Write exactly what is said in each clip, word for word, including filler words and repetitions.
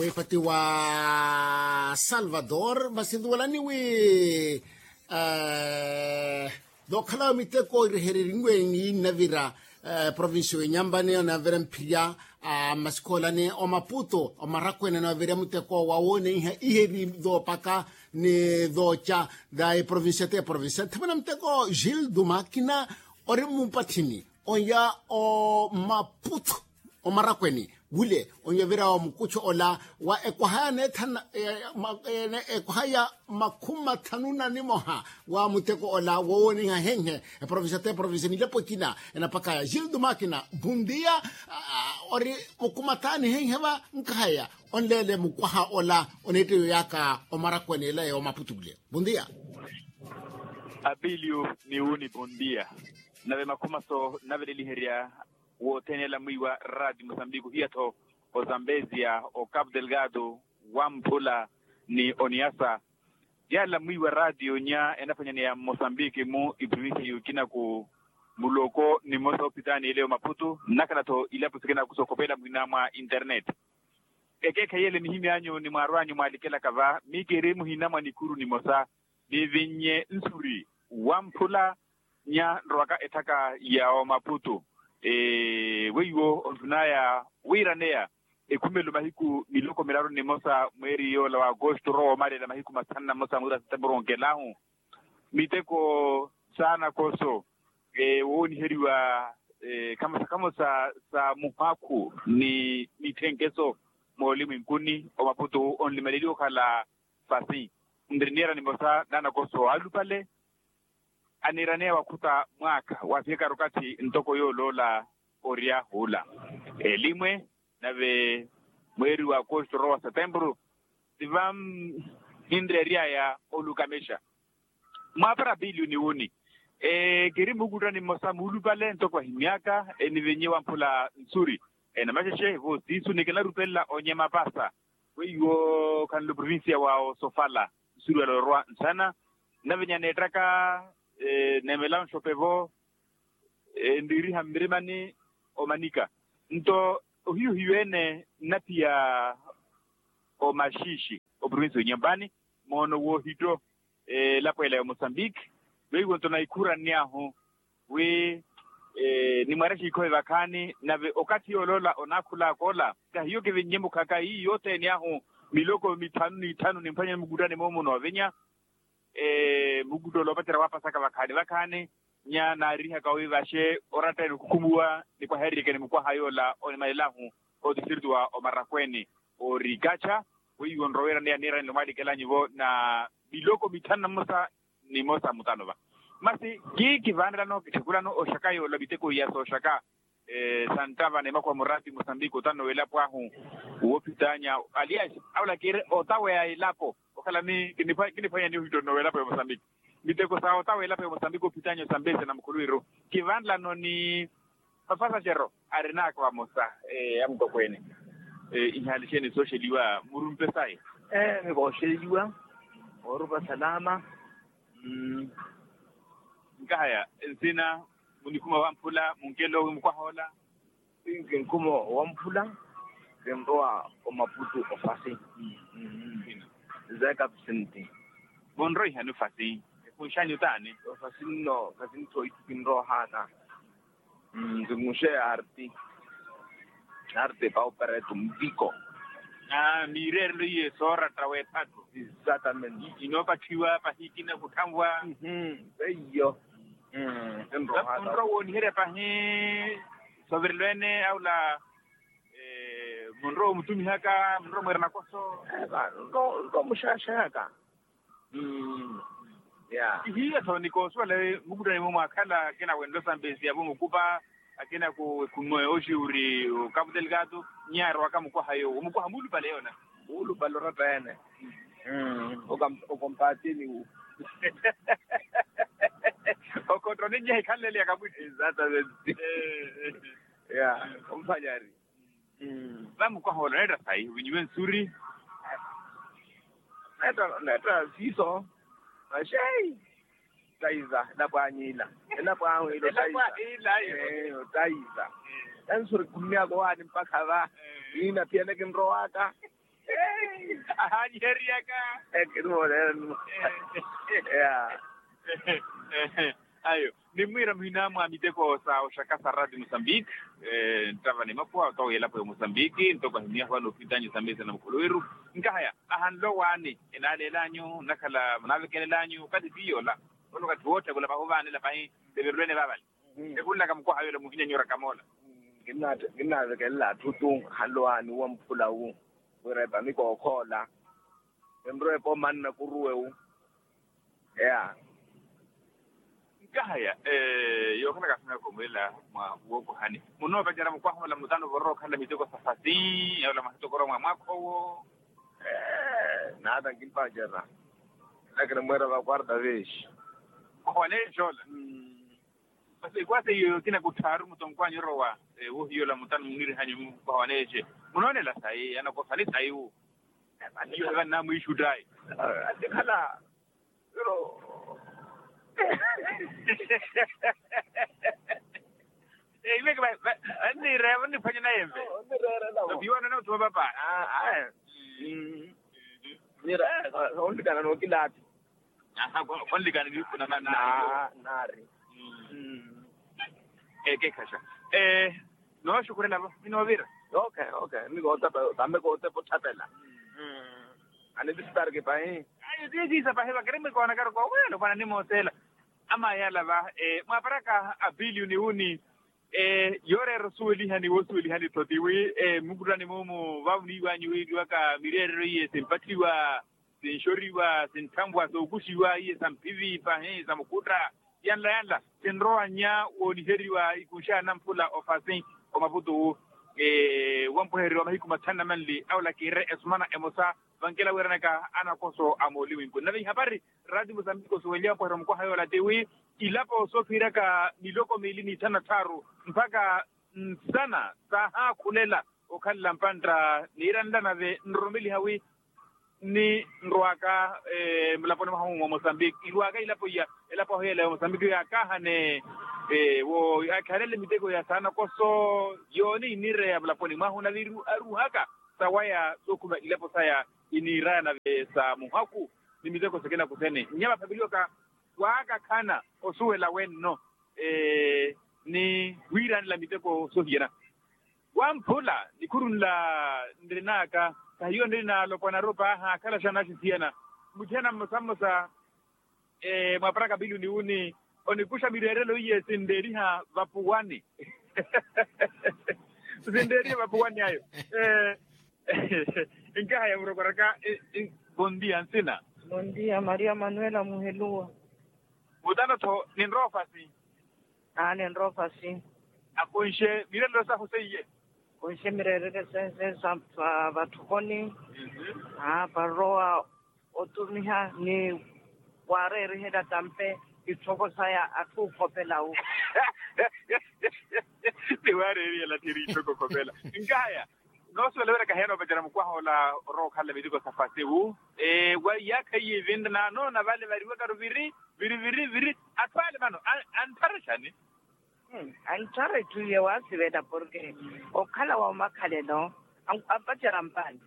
Epati wa salvador masi nduwelani wi, dookhala miteko irehereriwe ni navira provincia wenyampani onavira mphirya, masi khoolani omaputo omarakwene onavira muteko wawooneiha iheri doopaka ni dooca da eprovincia te provincia nthavana muteko gil dumakina ori mupathini onya omaputo omarakweni wule onyovira wa mukuchu ola wa ekwaha ya neethana ekwaha ya makhumi mathanu na nimoha wa muteko ola woowoniha henhe eprovincia te provincia nilepo ekina enapakaya gildo makina bundia ori mukumathani henhe va nkahaya onleele mukwaha ola oneetteyo yaka omarakwene ela ya omaputu wule bundia. Apiliyu ni wuni bondia nave makhumaso naveleliherya wothene ala mwiiwa raati musambiki ohiya-tho ozambezia okapu delgado wamphula ni oniasa. Yaala mwiiwa raati onya enaphwanyaneya mmosambiki-mu iprovincia y'okina-ku muloko nimosa ophitaani ele omaputu nnakhala-tho ilapo sikina-ku sookhopela muhina mwa internet. Ekeekhayi ele nihimy'anyu ni mwaarw'anyu mwaalikelaka va miikeri muhina mwa nikuru nimosa nivinnye nsuri wamphula nya nrowaka etthaka ya omaputu weiwo onthun'aya wiiraneya ekhumelo mahiku miloko miraru nimosa mweeri yoola wa agosto orowa omalela mahiku mathanu na mmosa mweeri wa setemburu onkelahu miteko saana koso wooniheriwa khamosa khamosa sa muhakhu ni mithenkeso moolimwenkuni omaputu onlimaleliwa okhala fasi nri niira nimosa naanakoso alupale aniiraneya wakhuta mwaakha waafihaka okathi ntoko yooloola oryahuula elimwe nave mweeri wa akosto orowa wa setemburu siva ninreery'aya olukamexa mwaapara apiliyu ni wuni kiri mukuttani mmosa muulupale ntoko ahimy'aka enivinnye wamphula nsuri enamaxexe voosiisu ni kinarupelela onyema pasa weiwo khanlo provincia wa osofala nsuruwela orwa nsana nnavinya neettaka neemela onxope-vo enriiriha mmirimani omanika nto ohiyu-hiyu ene nnaphiya omaxiixi oprovincia onyempani moono woohitto elapo ela ya omosambiki weiwo nto naikhuranny'ahu wi nimwarexe ikhove vakhaani nave okathi yooloola onaakhul'aka ola kahiyo kivinnye mukhaka ii yothene ahu miloko mithanu n'ithanu nimphwanye mukuttani moomo noovinya mukutto ola opacerya waapasaka vakhaani vakhaani nya naarihaka wi vaxe oratta ene okhukhumuwa nikwahererikeni mukwaha yoola onimalela ahu otistritu wa omarakweni orikacha weiwo nroweerani ya niiranile omwaalikelanyu-vo na miloko mithanu na mmosa nimosa mutano va masi kikivaanelano kitthekulano oxaka yoola miteko iya sooxaka santtava na emakuwa muraati mosambiki otano w'elapo ahu woophitaanya alias aula kiire otaweya elapo okhala ni kiniphwanya ni ohitto nno w'elapo ya mosambiki miteko sa otaweya elapo ya mosambiki oophitaanya osambezya na mukhuluwiru kivanlano ni mapasaxero arinaka vamosa amutokweene ihaali xeeni sooxeliwa murumpe sayi ee mikooxeliwa oorupa salama nkahaya nsina munikhuma wamphula munkelo wi mukwaha ola kinkhuma wamphula kinrowa omaputu ofasi zeka psenti vonroihani ofasi efunxanyu taani ofasi nno khasi ntthu oitthu kinrohana nzunguxe arti arti pauperetu mpiko miireerelo iye sooratta w'ephatu exatamente inoopatthiwa pahikina kutthanwa eiyo enrohana munrowa wooniherya pahi sovirelo ene aula munrowa omutumihaka munrowa mweera nakoso nrowa muxaxayaka ya ihiya tho nikoosuwela mukuttani-mo mwaakhala akina wenlo sambesiya-vo mukupa akina ku ekhummo yooxi uri okapu delgado nyarowaka mukwaha yoowo mukwaha muulupale yoona muulupale oratta ene okompatini wu okottoni nyehe ikhanlele ya kamwitthi exatamente ya omphanyari vamukwaha ola oneetta sayi ovinyiwe nsuri neetta siiso maxei otaiza elapo anyu ila elapo ahu ila otaiza otaiza ensuri khummyaka owaani mpakha va iina phiyana kinrowaka Ahaanyiheryaka. Ekiri moolelo. Ayo. Nimmwiira muhina mwa miteko sa oxaka sa rati mosambiki, nttava ni makhuwa otowa elapo ya mosambiki ntoko ahimyahu anoophintanyu sa mesa na mukholoweru. Nkahaya ahanlowaani enaaleelanyu nnakhala munaavekelel'anyu okathi tiyoola. Ono okathi wootthakulapa ovaanela pahi. Teverulwene vaavale. Ekhunlaka mukwaha yoola muhinyanyora kamoola. Kinnaavekelela atthu tu ahanlowaani wamphula wu wira epamiko okhoola. Enrowa epo manna kuruwe wu. Eya. Nkahaya yookhala kaasina koomulela mwa wookohani munoopacerya mukwaha ola mutano vorowa okhala miteko sa fasi. Ola mwahitokorowa mwa mwaakha owo. Naata nkimpacerya. Ela kinimweera va quarta vez. Mukwaha waneexe ola. Masi ekwasa iyo kina kutthaaru mutonkw'anyu orowa. Wohiyola mutano munirihanyu mukwaha waneexe. Munoonela sayi anakosani sayi wu. Iyo hevannamwiixuttayi. Asikhala. Pero. Iwe vannireera vanniphwanya nayemve. Vannireera nawo. Vapiwana na othuma papa. Aa. Nira onlikana nookilaathi. Onlikana niikhuna nanaari. Ekeekhaxa. Nooxukhurela-vo minoovira. Okay okay. Mikoottepa tambe koottepa otthapela. Anivisitarki pahi. Ayo tiisiisa pahi vakiri mikoonakaru koowelo mwananimoosela. Amayala va mwaparaka a pilioni wuni. Yooreera osuwelihani woosuwelihani tho tiwi mmukuttani muumu vaavuniiwanyu wiiriwaka mireerero iye simpatthiwa, sinxoriwa sintthanvwa sookuxiwa iye samphivi pahi samukhutta. Yanla yanla sinrowa nnya wooniheriwa ikunxa ya namphula ofasi omaputu wu. Wampwehereriwa mahiku mathanu na manli awola kiire esumana emosa. Vankela wiiranaka anakoso a mooliwinku nave ihapari. Rati musambiki osuweliwa mpweherero mukwaha yoola tiwi ilapo soofiiraka miloko miili n'ithanu na tthaaru mpakha nsana saahaakhulela okhalela mpantta niira nla nave nroromeliha wi ninrwaka mulaponi mwaha mumwe wa mosambiki irwaka ilapo iya. Elapo ahu yela ya mosambiki yaakaahane wo yaakhihalele miteko ya saanakoso yooni iniireya mulaponi mwahu nave aruuhaka sawaya sookhuma ilapo saya iniiraya nave sa muhaku ni miteko sikina kusene nnyama phapeliwaka. Waakakhana osuwela wenno ni wiiranela miteko soohiyana wamphula nikhuru nla nrinaka kahiyo nrina alopwana arupa ahaakhala xana axisiyana. Muthiyana mmosa mmosa mwaparaka pilioni wuni onikuxa mireerelo iye sinreeriha vapuwani. Sinreeriha vapuwani ayo. Nkahaya murokoraka. Bondia nsina. Bondia maria manuela muheluwa. Mutano tho ninroofasi. Aani nroofasi. Akonxe mireerelo sahu seiye. Konxe mireerelo seiye sa vatthukoni. Aa parowa otumiha ni waareerihela tampe itthoko saya atthu okhopela wu. Ni waareerihela thiri itthoko okhopela. Nkahaya noosuwela wira kahiya noopacerya mukwaha ola orowa okhalela miteko sa fasi wu. Wa iyaakha iye vinre naanoona vale variwakaru viri viri viri viri. Atthu ale vano antthara exani? Antthara etthu iye waasivela porke okhala wa omakhalelo ampacerya mpaani.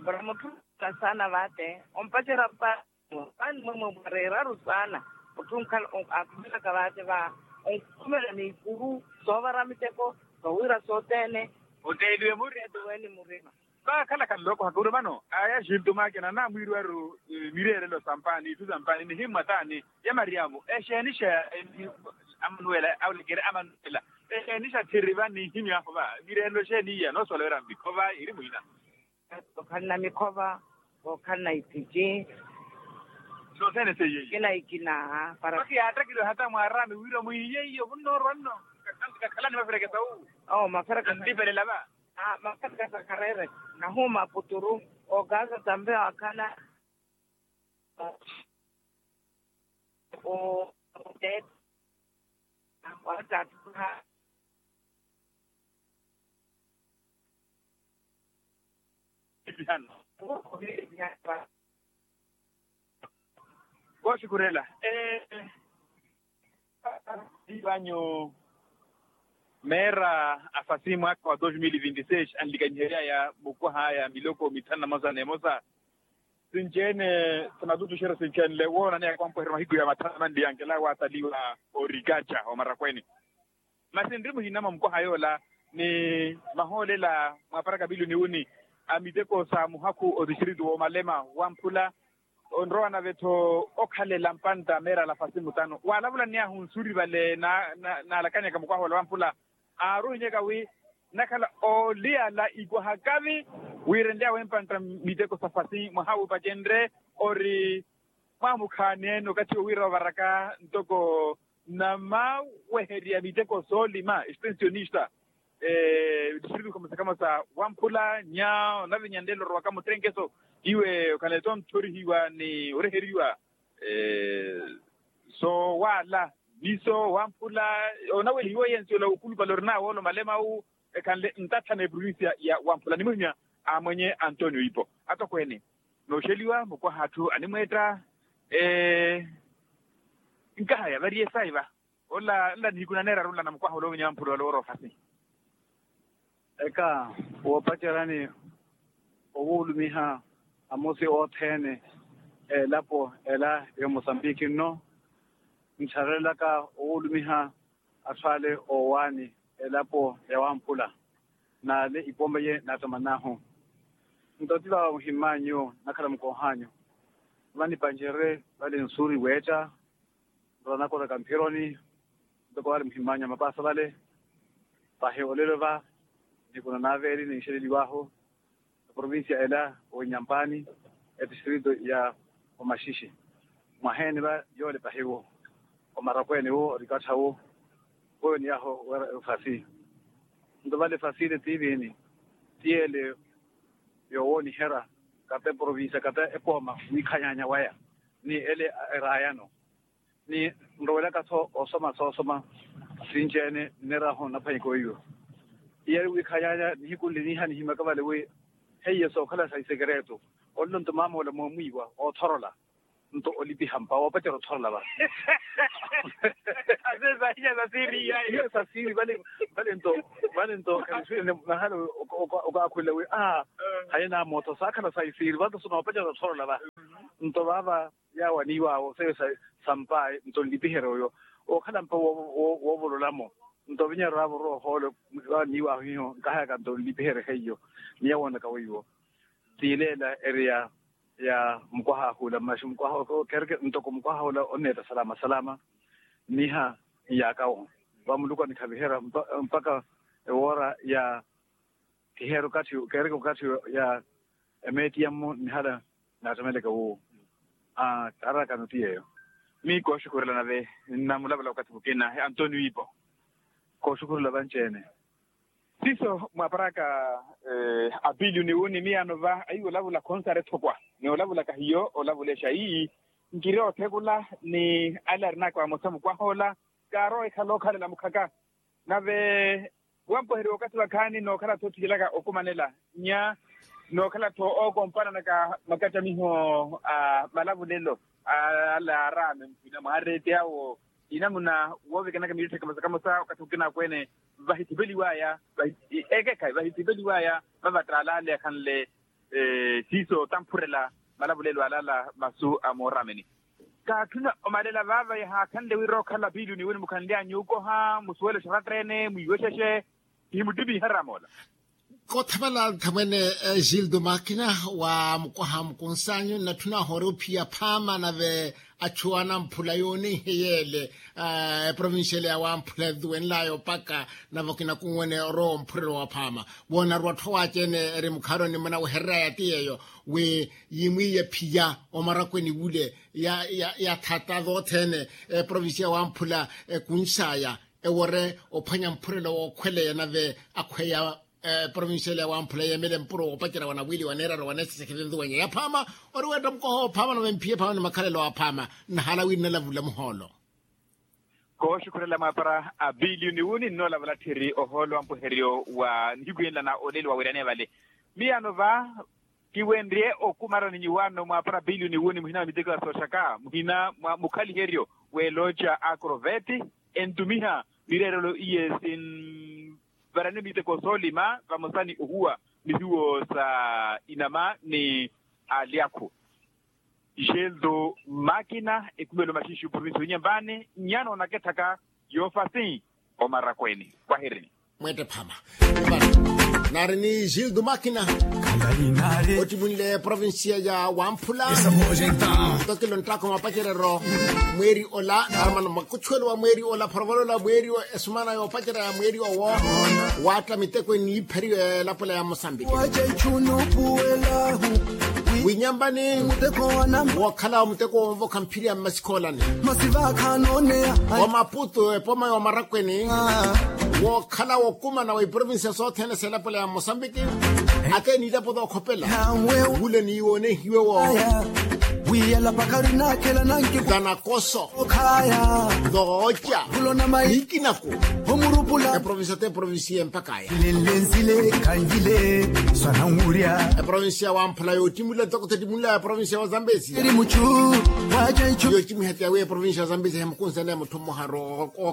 Para mutthu onkhala saana vaate ompacerya mpaani. Mpaani mwemwe mwareeraru saana mutthu onkhala akhumelaka vaate va onkhumela n'ikuru soovara miteko soowiira sothene. Oteeliwe murima. Vaakhalaka nloko hakuru vano aya xintuma akina anamwiiriwaru mireerelo sa mpaani itthu sa mpaani nihimmwa taani ya maryamu exeeni xa amanuela awulekeri amanuela exeeni xa thiri va nihimyahu va mireerelo exeeni iya noosolowera mmikhova iri mwina. Okhalana mikhova okhalana iphici. Sothene seiye iya ikina ikina para. Kiyaattakilewa hata mwaarami wira mwiiye iya omunnoorwa nno kakhalani maferekesa wu. Oo maferekesa antipelela va. Makhaka sa khareere nahuuma aputuru okaasa tampe wakhala. Oteeta akwaattattha. Kooxikhurela eepanyu meera a fasi mwaakha wa dos mil vinti seis anlikanyiheryaya mukwaha aya miloko mithanu na mosa n'emosa. Sinci-ene, sinatutuxerya sinci-enle woonaneya kwampuherya mahiku ya mathanu manli yankela waataliwa orikaca omarakweni. Masi nri muhinama mukwaha yoola ni mahoolela mwaparaka pili oniwuni a miteko sa muhakhu otistritu woomalema wamphula. Onrowa nave-tho okhalela mpantta meerala fasi mutanu waalavulaniy'ahu nsuri vale naalakanyaka mukwaha ola wamphula. Aaruhinyaka wi nakhala ooliyala ikwaha kavi wiirenly'awe mpantta miteko sa fasi mwaha wiipacenrye ori mwaamukhaani-ene okathi owiira ovaraka ntoko namaweherya miteko soolima extensionista. Distritu khamosa khamosa wamphula nya onavinya nlelo orowaka muttenkeso iwe okhanle-tho onthorihiwa ni oreheriwa sowaala miso wamphula onawehiwa yensi ola wukhulupale orinawe ola omalemawu. Ekhanle ntathana eprovincia ya wamphula ni muhimya a mwenye antonio ipo atokweene nooxeliwa mukwaha atthu animweetta. Nkahaya variye sayi va ola nla nihiku naneeraru nla na mukwaha ola ovinya wamphula ola ooroofasi. Eka woopaceryani owulumiha amosi othene elapo ela ya mosambiki nno ntharelaka owulumiha atthu ale oowaani elapo ya wamphula n'ale ipooma ye naattaman'ahu. Nto ti vava muhimm'anyu nakhala mukooh'anyu vanipancerye vale nsuuri weetta nto nanakoraka mphironi ntoko vale muhimm'anyu a mapaasa vale. Pahi olelo va nihiku nanaaveeli ninxeleliw'ahu eprovincia ela oinyampani etistritu ya omaxixi mwaheeni va yoole pahiwo omarakweene wo orikattha wo. Woyo niy'ahu weera efasi nto vale efasi ile tiiviini ti ele yoowooniherya kata eprovincia kata epooma wiikhanyanya waya ni ele eraayano ni nrowelaka-tho osoma soosoma sinci-ene nneerahu naphwanyiko weiwo. Iyari wiikhanyanya nihiku nli niiha nihimyaka vale wi heiye sookhala sa isekereeto olelo nto maamoola moomwiiwa oothorola nto olipiha mpa woopacerya othorola va. Asesahinya sasiri iyayi sasiri vale nto vale nto khaniswirene nahala okaakhulela wi a haye naamootho saakhala sa isiri vanto sinoopacerya othorola va. Nto vaava yaawaniiw'awo seiyo sampaayi nto nlipiherya oyo ookhala mpa woovololamo nto ovinyererya vorowa ohoolo. Vaawaniiw'ahu hiyo nkahayaka nto nlipiherye heiyo. Ni yawoonaka weiwo tiileela eri ya ya mukwaha ahula mmaxi mukwaha kereke ntoko mukwaha ola onneetta salama salama. Niha nyaakawo va muluku anikhaviherya mpakha ewoora ya kiheera okathi kereke okathi ya emeeti yammo nihala naattemeleke wuwo. Arakano ti yeeyo. Miyo kooxukhurela nave nnamulavula okathi mukina antonio ipo. Kooxukhurela vanci-ene. Siiso mwaaparaka apiliyo ni wuni miyaano va ahiyo olavula khonsari ethokwa ni olavulaka hiyo olavulexa ii nkiri oothekula ni ale arinaka vamosa mukwahoola. Kaarowa ekhala okhalela mukhaka nave wampoheriwa okathi vakhaani nookhala-tho othikilaka okumanela nya nookhala-tho ookompananaka makacamiho a malavulelo ale aaraame mphwina mwaareeti awo inamuna woovikanaka miitthe kamosa kamosa okathi okina akweene vahithipeliwaya ekekhayi vahithipeliwaya vavattaala ale akhanle siiso tamphurela malavulelo alaala masu a mooraameni. Kaatthuna omalela vaava yahaakhanle wira okhala piili oniwini mukhanly'anyu okoha musuwele oxaratteene mwiiwexexe. Kihimuttimiha raamoola. Kothamala nthamwene gildo makina wa mukwaha mukunsanyu nnatthuna ohoora ophiya phaama nave achu anamphula yoonihe yeele eprovincial ya wamphula etuwenlaya opaka nave okina kunwene orowa omphurelo wa phaama. Woonaruwa atthu awaci-ene eri mukhaaroni munawehereraya ti yeeyo wi yimwiiye phiya omarakweni wule ya ya ya thata thothene eprovincia ya wamphula ekunxaya ewore ophwanya mphurelo wookhweleya nave akhweya eprovincia ile ya wamphula yeemele mpuro woopacerya wa nawili wa neeraro wa neeseseke tintuwenya ya phaama. Ori weetta mukoha ophaama nave mphiye phaama ni makhalelo aphaama nnahala wi nnalavula muhoolo. Kooxukhurela mwaapara a piliyo ni wuni nnoolavula tthiri ohoolo wa mpuheryo wa nihiku yenla na oleli wa wiraneya vale. Miyaano va kiwenrye okumarani nyuwaano mwaapara piliyo ni wuni muhina mwa miteko ya sooxaka muhina mwa mukhaliheryo w'elooca akroveti entumiha mireerelo iye sin varani miteko soolima vamosa ni ohuwa mihiwo sa inama ni alyakhu. Gildo makina ekumelo maxinxi oprovinsi yonyambani nyano onakethaka yoofasi omarakweni. Wahirini. Mweette phama nari ni gildo makina ottimunle provinsiya ya wamphula. Ntokelo nttaakho mapacereryo mweeri ola armano makuchuwelo wa mweeri ola phorovololo mweeri esumana yoopacerya ya mweeri owo. Waatta miteko eniipheriwe elapola ya mosambiki winyambani wookhala wa muteko wonvokha mphiri ya mmasikhoolani wa maputu epoma ya omarakweni wookhala wokumana wa iprovinsiya sothene selapola ya mosambiki. Ate niilapo tookhopela wule niiwoonehiwe wo tanakoso tooca nikinako. Eprovinsiya te eprovinsiya empakaya eprovinsiya wamphula yoottimula ntoko tottimula eprovinsiya wa zambezi. Yoottimwiha ti awi eprovinsiya wa zambezi hemukunsene mutthu mmoharu